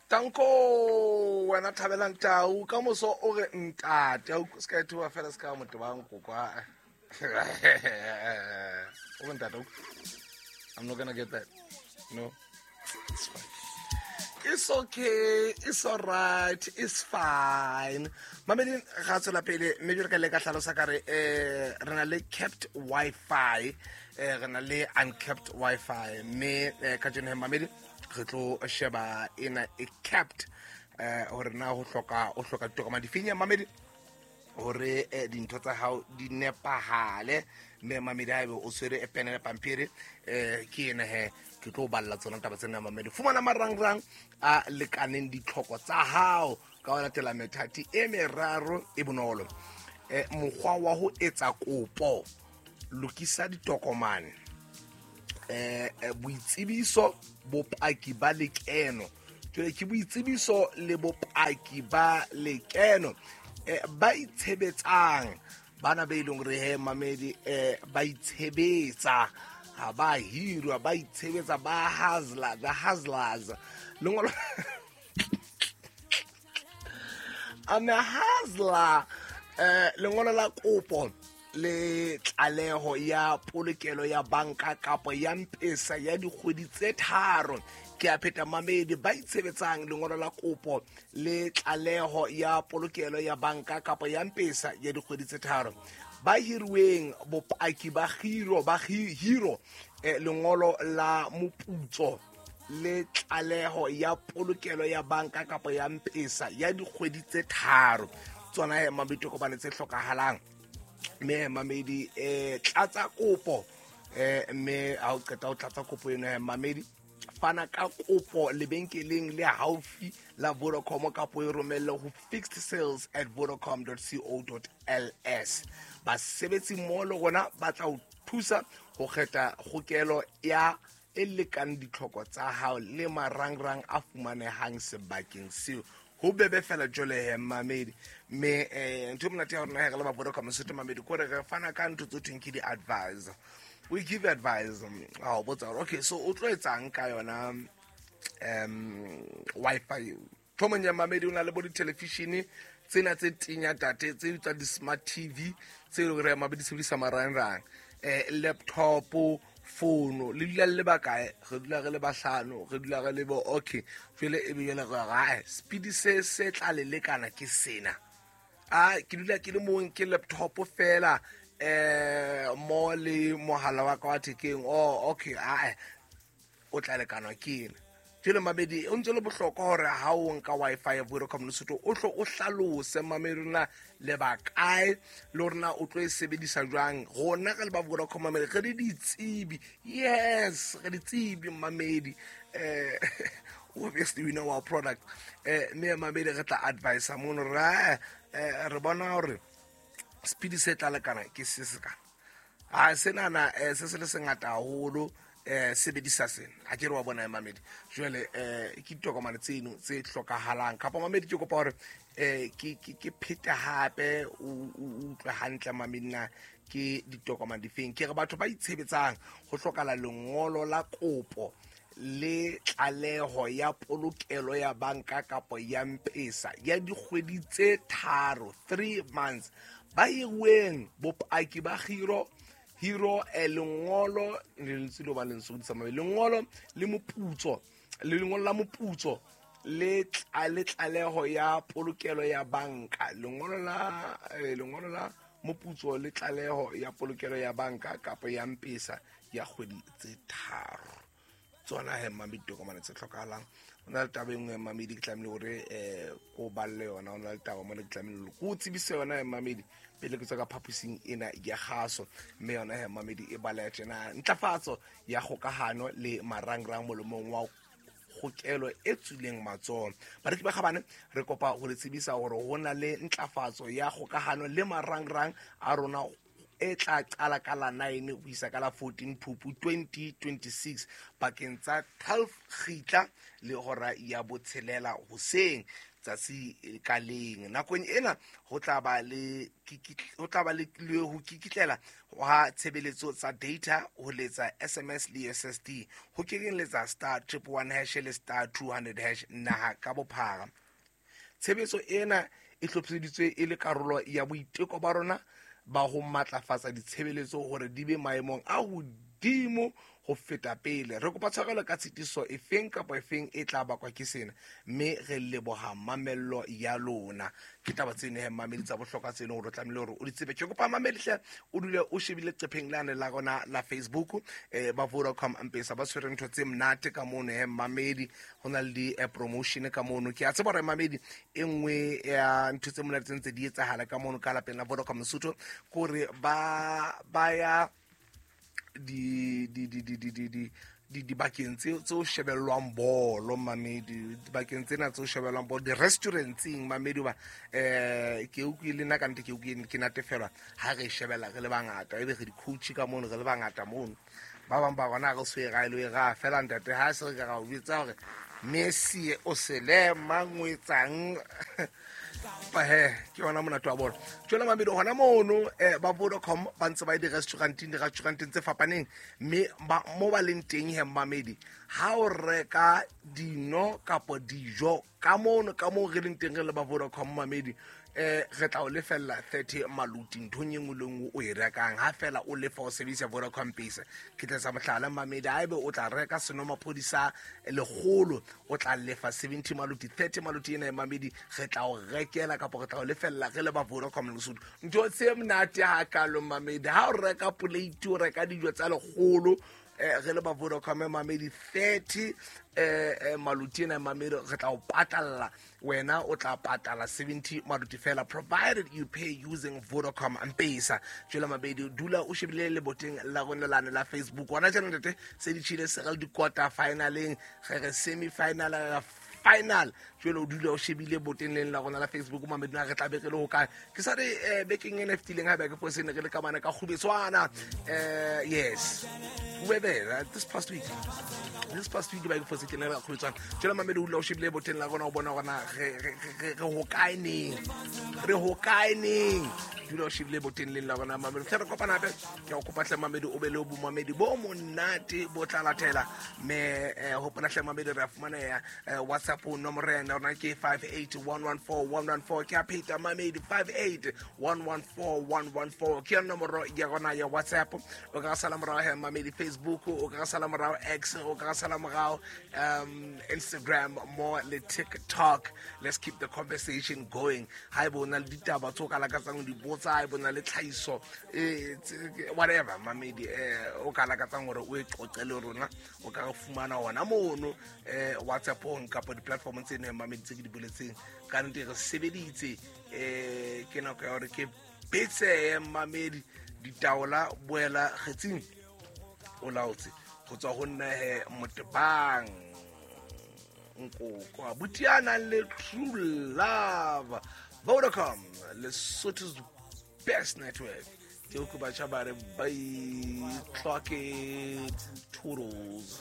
Tanko wena thabelang tau ka moso o re ntate a se ka ethoba fela se ka motho ba nkokwa o re ntate. I'm not gonna get that. No, it's fine, it's okay, it's alright, it's fine. Mamedi ga tswela pele mme jalo ka le ka tlhalosa ka re re na le capped Wi-Fi, re na le uncapped Wi-Fi, mme ka jeno he mamedi re tlo sheba ena e capped, hore na ho hloka o hloka ditokomane difeng ya mamedi hore dintho tsa hao di nepahale. Mme mamedi ha ebe o tshwere e pene le pampiri, ke ena he ke tlo balla tsona taba tsena. Mamedi, fumana marangrang a lekaneng ditlhoko tsa hao ka ho latela methati e meraro e bonolo. Mokgwa wa ho etsa kopo: lokisa ditokomane, boitsebiso, bopaki ba lekeno. Jwale ke boitsebiso le bopaki ba lekeno. Ba itshebetsang, bana be leng hore he mamedi ba itshebetsa, ha ba hirwa, ba itshebetsa, ba hustler, the hustlers, lengolo. I'm a hustler. Lengolo la kopo le tlaleho ya polokelo ya banka kapa ya mpesa ya dikgwedi tse 3. Ke a pheta mamedi, ba itshebetsang, lengolo la kopo le tlaleho ya polokelo ya banka kapa ya mpesa ya dikgwedi tse 3. Ba hiruweng, bopaki ba hiro, ba hiro, lengolo la moputso le tlaleho ya polokelo ya banka kapa ya mpesa ya dikgwedi tse 3. Tsona he mamedi tokomane tse hlokahalang. Mme mamedi tlatsa kopo, mme ha o qeta ho tlatsa kopo eno he mamedi, fana ka kopo lebenkeleng le haufi la Vodacom kapo e romelle ho fixedsales@vodacom.co.ls. Basebetsi mmoho le rona ba tla o thusa ho kgetha kgokelo ya e lekang ditlhoko tsa hao le marangrang a fumanehang sebakeng seo. Ho bebe fela jole he mamedi. Mme ntho e monate ya rona he re le ba Vodacom Sotho mamedi kore re fana ka ntho tse thweng ke di-advice. We give advice. Ha o botsa hore okay, so o tlo etsang ka yona Wi-Fi thomong ya mamedi, o na le bo di-television tsena tse tenya tate tse tsa di-smart TV tse e leng hore mamedi sebedisa marangrang, laptop, fono, le dula le bakae? Re dula re le bahlano, re dula re le bo, okay. Jwale e be jwale re rae speed se se tla le lekana ke sena. A ke dula ke le mong, ke laptop fela mo le mohala wa ka wa thekeng. Oh okay, a o tla lekanwa ke ena. Jwale mamedi o ntse le bohlokwa hore ha o nka Wi-Fi ya Vodacom Lesotho o hlo o hlalose mamedi na le ba kae le hore na o tlo e sebedisa jwang. Rona re le ba Vodacom mamedi re le ditsebi, yes, re ditsebi mamedi, obviously we know our product, mme mamedi re tla advise mono re re bona hore speed se tla lekana ke se se kana a senana, se se le sengata haholo, sebedisa sena. Ha ke re wa bona mamedi, jwale ke ditokomane tseno tse hlokahalang. Kapa mamedi ke kopa hore ke phete hape o utlwe hantle mamedi na ke ditokomane difeng. Ke re batho ba itshebetsang ho hlokahala lengolo la kopo le tlaleho ya polokelo ya banka kapa ya mpesa ya dikgwedi tse 3, 3 months. Ba hiruweng, bopaki ba hiro, lengolo le lentswe le ba lentswe di tsamaya, lengolo le moputso, le lengolo la moputso le tlaleho ya polokelo ya banka, lengolo la moputso le tlaleho ya polokelo ya banka kapa ya mpesa ya kgwedi tse 3. Tsona he mamedi ditokomane tse hlokahalang. O na le taba e nngwe mamedi ke tlamehile hore ko balle yona. O na le taba mona ke tlamehile hore ko tsebise yona he mamedi pele ke tswa ka phaposing ena ya kgaso. Mme yona he mamedi e baleha tjena: ntlafatso ya kgokahano le marangrang molemong wa kgokelo e tswileng matsoho. Bareki ba kgabane, re kopa ho le tsebisa hore ho na le ntlafatso ya kgokahano le marangrang a rona e tla qala ka la 9 ho isa ka la 14 Phupu 2026 pakeng tsa 12 kgitla le hora ya 6 hoseng. Tsatsi ka leng nakong ena ho tla ba le ho tla ba le ho kikitlela ha tshebeletso tsa data, ho letsa SMS le USSD, ho kenyelletsa *111# le *200# naha ka bophara. Tshebetso ena e hlophiseditswe e le karolo ya boiteko ba rona ba ho matlafatsa ditshebeletso hore di be maemong a hodimo ho feta pele. Re kopa tshwarelo ka tshitiso efeng kapa efeng e tla bakwa ke sena, mme re leboha mamello ya lona. Ke taba tseno he mamedi tsa bohlokwa tse leng hore o tlamehile hore o di tsebe. Ke kopa mamedi hle o dule o shebile leqepheng lane la rona la Facebook. Ba Vodacom Mpesa ba tshwere ntho tse monate ka mono he mamedi, ho na le di-promotion ka mono. Ke a tseba hore mamedi e nngwe ya ntho tse monate tse ntse di etsahala ka mono ka lapeng la Vodacom Lesotho ke hore ba ya di di di di di di di di dibakeng tse o shebellwang bolo mamedi, dibakeng tsena tse o shebellwang bolo, di-restaurantseng mamedi. Ba ke utlwile nna ka nnete, ke utlwile ke natefelwa ha re shebella re le bangata, ebe re di-coach ka mono, re le bangata mono. Ba bang ba rona re se ra ile ra fela ntate ha se re ka ra o bitsa hore Messi o sele mang o etsang he ke yona monate wa bona. Jwale mamedi, hona mono ba Vodacom ba ntse ba ye di-restauranteng tse fapaneng, mme mo ba leng teng he mamedi, ha o reka dino kapo dijo ka mono ka moo re leng teng re le ba Vodacom mamedi, re tla o lefella 30 maluti nthong e nngwe le nngwe o e rekang, ha fela o lefa o sebedisa Vodacom Pesa. Ke tla tsa mohlala mamedi, ha ebe o tla reka senomaphodi sa 100, o tla lefa 70 maluti. 30 maluti ena e mamedi re tla o rekela kapa re tla o lefella re le ba Vodacom Lesotho. Ntho tse monate hakalo mamedi, ha o reka plate, o reka dijo tsa 100, re le ba Vodacom mamedi, 30 maluti ena mamedi re tla o patalla, wena o tla patala 70 maluti fela, provided you pay using Vodacom Mpesa. Jwale mamedi, dula o shebile leboteng la rona lane la Facebook. Hona jana ntate se di tjhile, se re le di-quarter finaleng, re re semi final, re final. Jwale o dula o shebile boteng leng la rona la Facebook mamedi, na re tla be re le hokae. Ke sa re bekeng ena e fetileng, ha be ke fose ne re le ka mane ka Kgubetswana. Yes, we were there this past week. This past week ba ke fose ke ne re Kgubetswana. Jwale mamedi, o dula o shebile boteng la rona o bona hore na re hokae neng, re hokae neng. Dula o shebile boteng leng la rona mamedi, hle re kopana hape. Ke a o kopa hle mamedi, o be le bomamedi bo monate bo tla latela. Mme hopola hle mamedi, re a fumaneha WhatsApp nomoro ya rona ke 58114114. Ke a pheta mamedi, 58114114 ke yona nomoro ya rona ya WhatsApp. O ka sala morao he mamedi Facebook, o ka sala morao X, o ka sala morao Instagram mo le TikTok. Let's keep the conversation going. Ha ebe o na le ditaba tse o ka lakatsang ho di botsa, ha ebe o na le tlhahiso, whatever mamedi, o ka lakatsang hore o e qoqe le rona, o ka re fumana hona mono WhatsAppong kapa di-platformong tse neng mamedi tse ke di boletseng. Ka nnete re sebeditse, ke nako ya hore ke betseye mamedi ditaola boela kgetsing o laotse. Ho tswa ho nna he Motebang Nkoko abuti a nang le true love, Vodacom, Lesotho's best network. Ke utlwe batjha ba re bye, clock it, toodles.